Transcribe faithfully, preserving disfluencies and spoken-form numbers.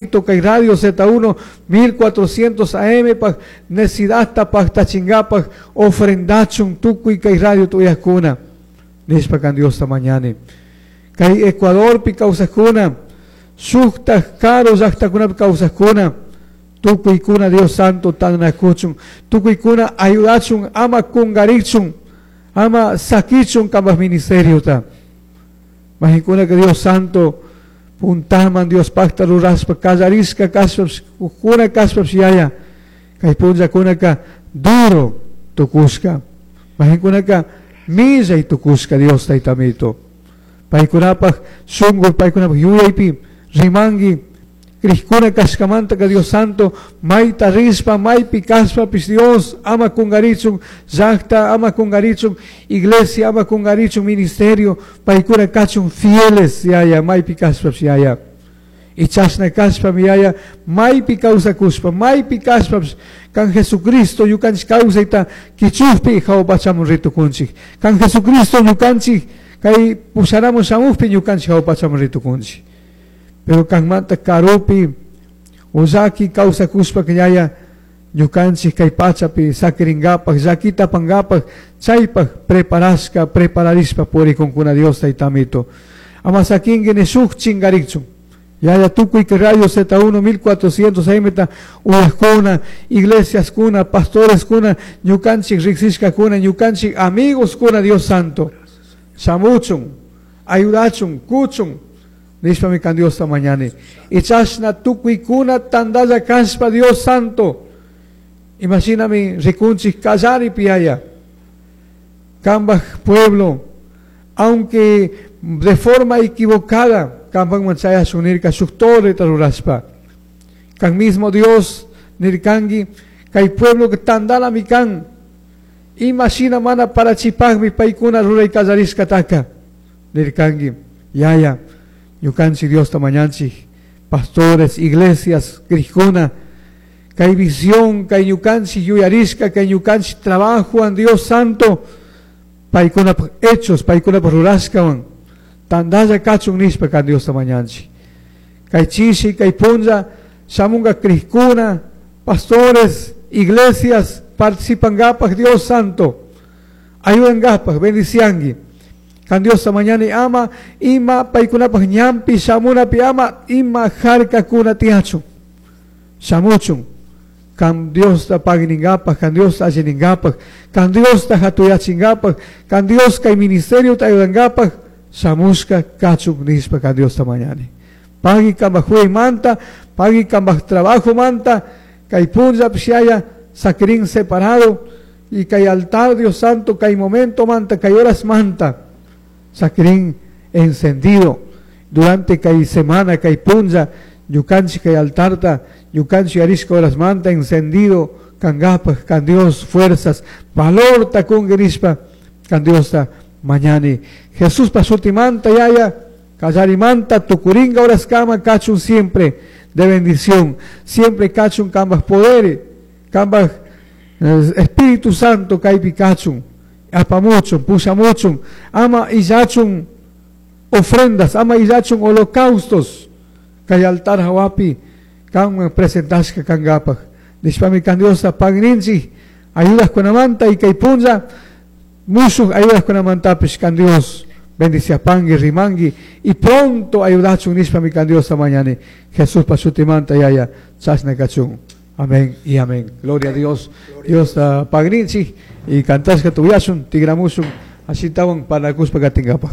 Kay Radio Z uno mil cuatrocientos A M paj nesidadta pajtachingapaj ofrendachun tukuy kay radio tuyajkuna nishpa kan Diosta mañani. Kay Ecuadorpi kawsajkuna, shuktaj karu llajtakunapi kawsajkuna, tukuykuna Dios Santo tanakuchun, tukuykuna ayudachun, ama kungarichun, ama sakichun kambaj ministeriota. Majinkuna que Dios Santo puntaman Dios pacta ruraspa kallarishka kashpapish, kuna kashpapish yaya kay punllakunaka duro tukushka, majikunaka millay tukushka Dios taytamito. Paykunapaj shunku, paykunapaj yuyaypi rimanki krishkuna kashkamanta ka Dios Santo mayta rishpa maypi kashpapish Dios ama kunkarichun llakta, ama kunkarichun iglesia, ama kunkarichun ministerio, paykuna kachun fieles yaya maypi kashpapish yaya. Y chashna kashpami yaya maypi kawsakushpa maypi kashpapish kan Jesucristo ñukanchik kawsayta kichukpi hawa pachaman ritukunchik, kan Jesucristo ñukanchik kay pusharamun shamukpi ñukanchik hawa pachaman ritukunchik. Pero kanmanta karupi ullaki kawsakushpa yaya ñukanchik kay pachapi sakirinkapak llakita apankapak chaypak preparashka prepararishpa purikunkuna Dios taytamito. Ama sakinki ni shuk chinkarikchun yaya tukuy kay Radio Z uno mil cuatrocientos A M ta uyajkuna, iglesiaskuna, pastoreskuna, ñukanchik riksishkakuna, ñukanchik amigos kuna Dios Santo shamuchun, ayudachun, kuchun nishpami kan Diosta mañani. Y chashna tukuykuna tandalla kashpa Dios Santo. Imaginami rikunchik kallaripi yaya kambaj pueblo, aunque de forma equivocada kambajman chayashun nirka shuk torreta rurashpa. Kan mismo Dios nirkanki kay pueblo que tandalami kan. Imagina mana parachipajmi paykuna ruray kallarishkataka nirkanki yaya ñukanchik Diosta mañanchik pastores, iglesias, krishkuna, kay visión, kay ñukanchik yuyarishka, kay ñukanchik trabajo an Dios Santo paykunapaj hechos, paykunapaj rurashkawan tandalla kachun nishpa kan Diosta mañanchik. Kay chishi, kay punlla shamunga krishkuna, pastores, iglesias participankapaj Dios Santo ayudankapaj, bendicianki kan Diosta mañani ama ima paykunapaj ñampi shamunapi ama ima harkakuna tiyachun shamuchun kan Diosta pagninkapaj, kan Diosta allininkapaj, kan Diosta hatuyachinkapak, kan Dios kay ministerio ta ayudankapaj shamushka kachun nishpa kan Diosta mañani. Pagui kambaj manta, pagui kambaj trabajo manta, kay punlla pishaya sakirin separado y kay altar Dios Santo, kay momento manta, kay horas manta, sakirin encendido durante kay semana, kay punlla, ñukanchik kay altarta, ñukanchik arishka horas manta encendido, kangapaj, kan Dios fuerzas, valor takungi nishpa, kan Diosta mañani. Jesús pasutimanta yaya, kallarimanta, tukuringa horas kama, kachun siempre de bendición, siempre kachun kambaj poderes, kambaj, eh, Espíritu Santo kaypi kachun, apamuchun, pushamuchun, ama illachun ofrendas, ama illachun holocaustos, kay altar hawapi kanman presentashka kankapaj. Nishpami kan Diosta pagninchik ayudajkunamanta y kay punlla mushuj ayudajkunamantapish kan Dios bendiciapangi, rimangi y pronto ayudachun nishpami kan Diosta mañani. Jesús pasutimanta yaya chashna kachun. Amén y amén. Gloria a Dios. Dios uh, pagninchik y cantashka tuyasun, tigramusun, así tawan para kuspa katingapaj.